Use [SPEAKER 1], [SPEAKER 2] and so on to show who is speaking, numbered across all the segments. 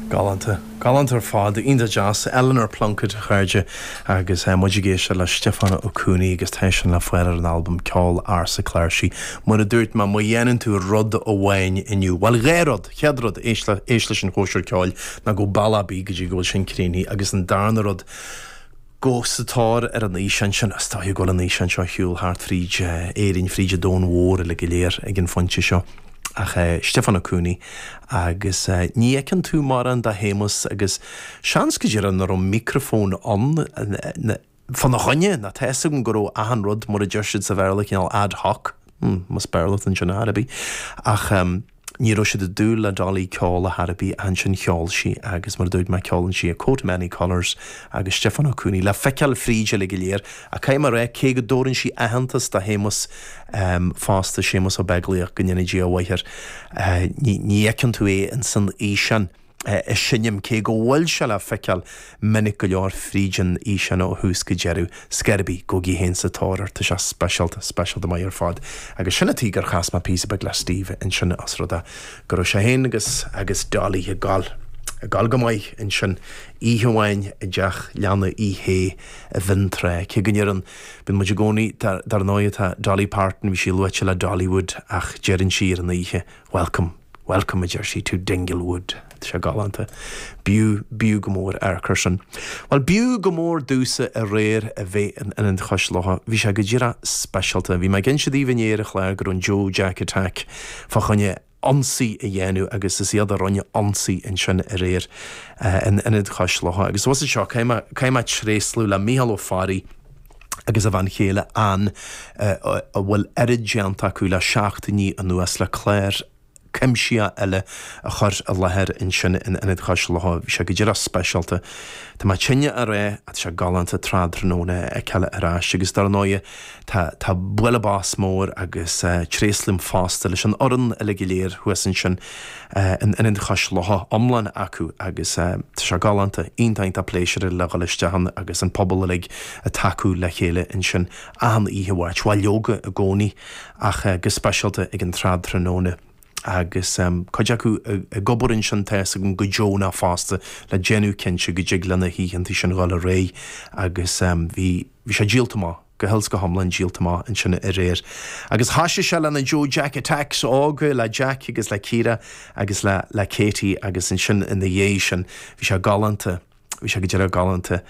[SPEAKER 1] Galánta. Galánta ar fad. Iontach deas. Eleanor Plunkett, a chairde, agus muid ag éisteacht le Stiofán Ó Cuanaigh agus tá sin le fáil ar an albam Ceol Ársa Cláirsí. Mar a dúirt mé, má dhéanann tú rud amháin inniu, bhuel, dhá rud! Chéad rud, éist le, éist leis an chóisir ceoil, ná gabh bealach ar bith go dtí go bhfuil sin críochnaithe agus an darna rud, gabh sa tóir ar an fhíseán sin. Is dóigh go bhfuil an fhíseán seo ar shiúl thart fríd Éirinn, fríd an domhan mhór uilig go léir ag an phointe seo. Ach Stiofán Ó Cuanaigh agus ní fheiceann tú mórán de Shéamus agus seans go díreach nach raibh micreafón ann fána choinne, nó tá fhios agam go raibh achan rud, mar a deir siad sa Bhéarla, cineál ad hoc, más Béarla atá ansin ar chor ar bith. Ach. Ní raibh siad ag dúil le Dolly ceol ar chor ar bith ach ansin cheol sí agus mar a dúirt mé ceolann sí A Coat of Many Colours agus Stiofán Ó Cuanaigh le feiceáil fríd uilig go léir ach caithfidh mé a rá cé go dtabhrann sí aitheantas do Shéamus fosta, Séamus Ó Beaglaoich, go ndéana Dia a mhaith air, ní fheiceann tú é insan fhíseán. ag seinm, cé go bhfuil sé le feiceáil minic go leor fríd an fhíseán ó thús go deireadh. Scor ar bith, gabhaigí féin sa tóir air, tá sé speisialta, speisialta maith ar fad. Agus sin an tuige gur chas mé píosa beag le Steve ansin os rud é go raibh sé féin agus agus Dolly ag gabháil, ag gabháil go maith ansin oíche amháin i dteach leanna Uí Shé i bhFionntrá, cé go ndeireann, bíonn muid i gcónaí, dar ndóigh tá Dolly Parton, bhí sí luaite le Dollywood ach deireann sí ar an oíche, Welcome. Welcome, a deir sí, to Dinglewood. Tá sé galánta. B'fhiú, b'fhiú go mór amharc air sin. Bhuel, b'fhiú go mór domhsa aréir a bheith in Ionad Chois Locha. Bhí sé go díreach speisialta. Bhí mé ag inse daoibh inné ar an chlár go raibh an Joe Jack Attack fá choinne ionsaí a dhéanamh agus is iad a rinne ionsaí ansin aréir in Ionad Chois Locha. Agus bhus anseo, caithfidh mé, caithfidh mé tréaslú le Mícheál Ó Fearraigh agus a bhean chéile Ann a bhfuil oiread déanta acu le seachtainí anuas le clár cuimsitheach eile a chur i láthair ansin in Ionad Chois Locha. Bhí sé go díreach speisialta. Tá mé tinn a rá ach tá sé galánta tráthnóna a fheiceáil ar ais agus dar ndóighe tá tá bualadh bos mór agus tréaslaím fosta leis an fhoireann uilig go léir thuas ansin in Ionad Chois Locha iomlán acu agus tá sé galánta, iontach iontach pléisiúrtha le dhul isteach ann agus an pobal uilig ag tacú le chéile ansin achan oíche Mháirt, bhuel leoga i gcónaí ach go speisialta ag an tráthnóna agus cuid acu ag obair ansin tá fhios agam go deonach fosta le déanamh cinnte go dtig le na hoícheanta sin dhul ar aghaidh agus bhí bhí sé díolta amach. go huile is go hiomlán díolta amach ansin aréir. Agus thoisigh sé le na Joe Jack Attacks óga, le Jack agus le Ciara agus le le Katie agus ansin ina dhiaidh sin bhí sé galánta, bhí sé go díreach galánta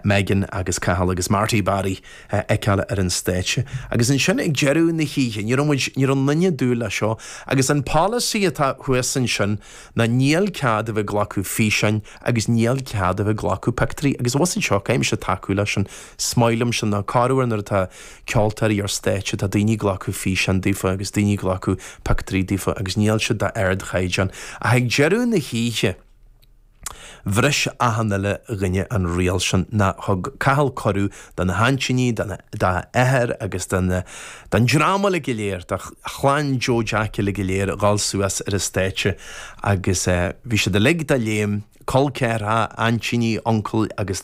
[SPEAKER 1] Megan agus Cathal agus Marty Barry a fheiceáil ar an stáitse. Agus ansin ag deireadh na hoíche, ní raibh muid, ní raibh aon duine ag dúil leis seo agus an polasaí atá thuas ansin ná níl cead a bheith ag glacadh físeáin agus níl cead a bheith ag glacadh pictiúirí agus abhus anseo caithfidh mise tacú leis sin. Is maith liom sin ná corruair nuair atá ceoltóirí ar stáitse tá daoine ag glacadh físeán daofa agus daoine ag glacadh pictiúirí daofa agus níl siad d'ardchaighdeán. Ach ag deireadh na hoíche bhris achan uile dhuine an riail sin ná thug Cathal cuireadh do na haintíní, dá athair agus don dream uilig go léir, do chlann Joe Jack uilig go léir a dhul suas ar an stáitse agus bhí siad uilig de léim, col ceathracha, aintíní, uncail agus.